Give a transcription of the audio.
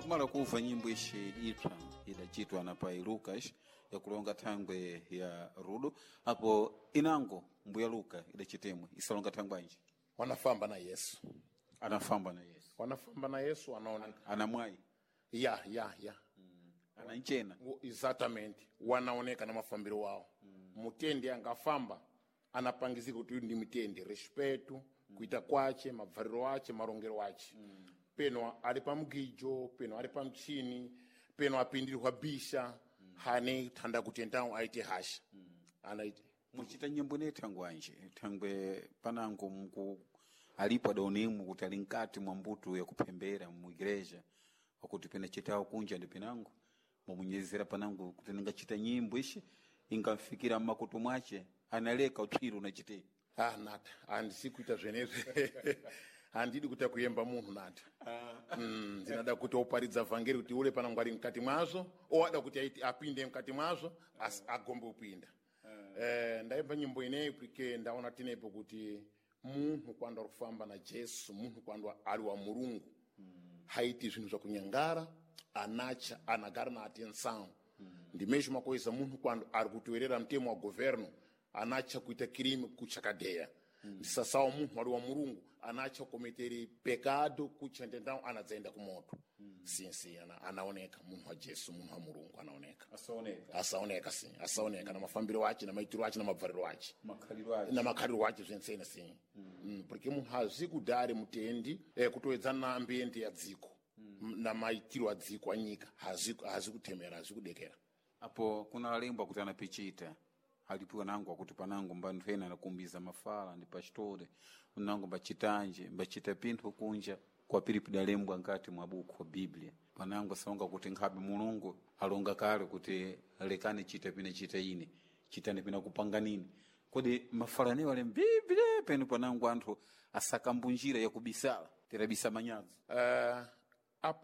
Pakumala kuva nyimbo ishi ipsa idachitwa na pai Lucas yakulonga thangwe ya rudo apo inango mbuya Luka idachitemwe isalonga thangwe anji Wanafamba na Yesu, anafamba na Yesu, wanafamba na Yesu wanaoneka anamwayi, ya ya ya ananchena. Exatamente, wanaoneka na mafambiro wao. Mutendi angafamba anapangizika kuti uyu ndi mutende, respeto kuita kwache, mabvariro ache, marongero ache. Peno ali pa mgijo, peno ali pa mchini, peno apindirwa bisha. Hane thanda kuti entawo aite hasha. Anaite Muchita nyimbo ine thangwe anji thangwe panango mku alipo adaonemu kuti ali mkati mwa mbuto yakuphembera mu igreja wakuti pena chitawo kunja ndi pinango mwamunyezera panango kuti ningachita nyimbo ishi ingamfikira mmakutu mwache analeka utwiro unachite. Ah, nata handisi kuita zvenezvi, handidi kuita kuyemba munhu nata. Ndinada kuti oparidza vhangeri kuti ule panango ali mkati mwazvo, oada kuti aite apinde mkati mwazvo, asi agombe kupinda. Ndaimba nyimbo ineyi porque ndaona tinepo kuti munhu kwando ari kufamba na Jesu, munhu kwando ari wa Mulungu, haiti zvinhu zvakunyangara, anacha anagara na atenção. Ndimesho makoisa munhu kwando ari kutoerera mtemo wa governo, anacha kuita kirimi kuchakadeya. Ndisasawa munhu ari wa Mulungu anacha kukometere pekado kuchendendao anadzaenda kumoto. Sinsi anaoneka munhu wa Jesu, munhu wa Mulungu anaoneka. Asaoneka. Asaoneka si asaoneka na mafambiro ache, na maitiro ache, na mabvariro ache, makhaliro ache. Na makhaliro ache zvensene si. Porque munhu hazi kudhari mutendi kutoedzana na ambiente ya dziko. Na maitiro a dziko anyika hazi hazi kutemera, hazi kudekera. Apo kuna alembwa kuti anapichita alipiwa nango akuti panango mbanthu ena anakumbiza mafala ndi pastore unango mbachitanje mbachita pinthu kunja kwapiri pidalembwa nkati mwa buku wa Biblia panango salonga kuti nkhabe Mulungu alonga kale kuti lekani chita pina chita ine chitani pina kupanganini kodi mafala anewo ali mbiblia penu panango anthu asakambunjira yakubisala terabisa manyazi.